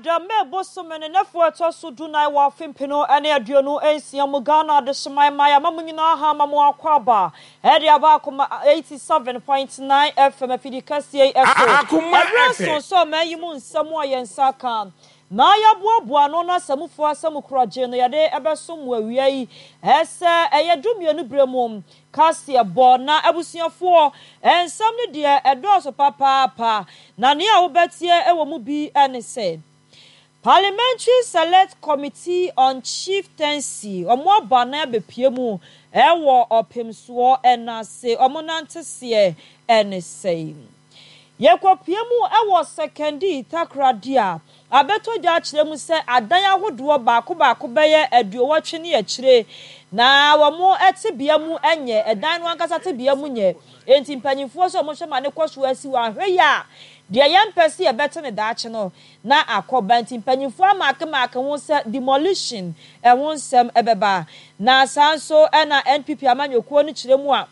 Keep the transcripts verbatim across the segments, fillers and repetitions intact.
Wukuada, May bosome ne nnafua a ɛtɔ so dunan wɔ afe mpenu ne aduonu nsia mu, Ghana Adehyeman mmaa ama mo nyinaa ha ama mo akwaaba de aba Akoma eighty seven point nine F M afidi kɛseɛ yi so. Akoma Ɛberɛ F M. nso sɛ ɔman yi mu nsɛm a yɛn nsa aka na yɛaboaboa ano na asamufoɔ asɛm korɔgye no yɛde bɛsom mo awia yi sɛ ɛyɛ dumienu berɛ mu kaseɛbɔ. Na abusuafoɔ, nsɛm no deɛ ɛdɔɔso papaapa, na nea wobɛtie wɔ mu bi ne sɛ Parliamentary Select Committee on Chieftaincy, wɔn abɔ anan abɛpue mu wɔ ɔpemsoɔ no ase, wɔn nanteseɛ ne sɛn. Yɛkɔpue mu wɔ Sekondi Takoradi a, abɛtɔ dwa akyerɛ mu sɛ adan ahodoɔ baako baako bɛyɛ aduowɔtwe ne akyire, na wɔn tebea mu nyɛ, ɛdan no ankasa tebea mu nyɛ. Enti mpanyinfoɔ sɛ wɔhwɛ ma ne kɔ so asi wɔ ahwɛ yi a, deɛ yɛmpɛ sɛ yɛbɛte ne daakye no na akɔ ba. Nti mpanyinfoɔ amaakemaake ho sɛ demolition ɛho nsɛm ɛbɛba. Na saa nso ɛna N P P amanyɔkuo no kyerɛ mu a,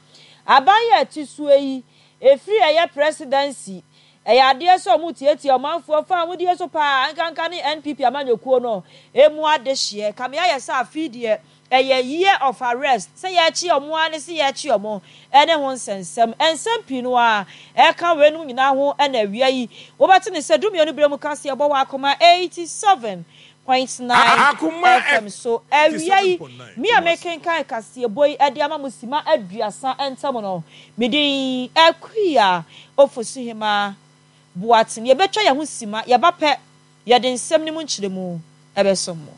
aban yɛ ɛte soɔ yi, efiri ɛyɛ presidency, ɛyɛ adeɛ sɛ ɔmo tietie ɔmanfoɔ fa ahodie so paa, nkanka ne N P P amanyɔkuo no emu adehyeɛ. Kamea yɛ sɛ afei deɛ ɛyɛ year of arrest, sɛ yɛakyi ɔmo ara ne sɛ yɛakyi ɔmo ɛne ho nsɛnsɛm. Nsɛm pii no a ɛka weinom nyinaa ho ɛna awia yi. Wobɛte ne sɛ dumienu berɛ mu kaseɛ bɔ wɔ Akoma eighty seven point nine Akoma F M so. Awia yi, eighty seven point nine me a Kumasi. mekenkan kaseɛbɔ yi ɛde ama mo sima aduasa ntam no, medin Akua Ofosuhema Boateng. Yɛbɛtwa yɛn ho sima, yɛba pɛ, yɛde nsɛm no mu nkyerɛmu ɛbɛsom mo.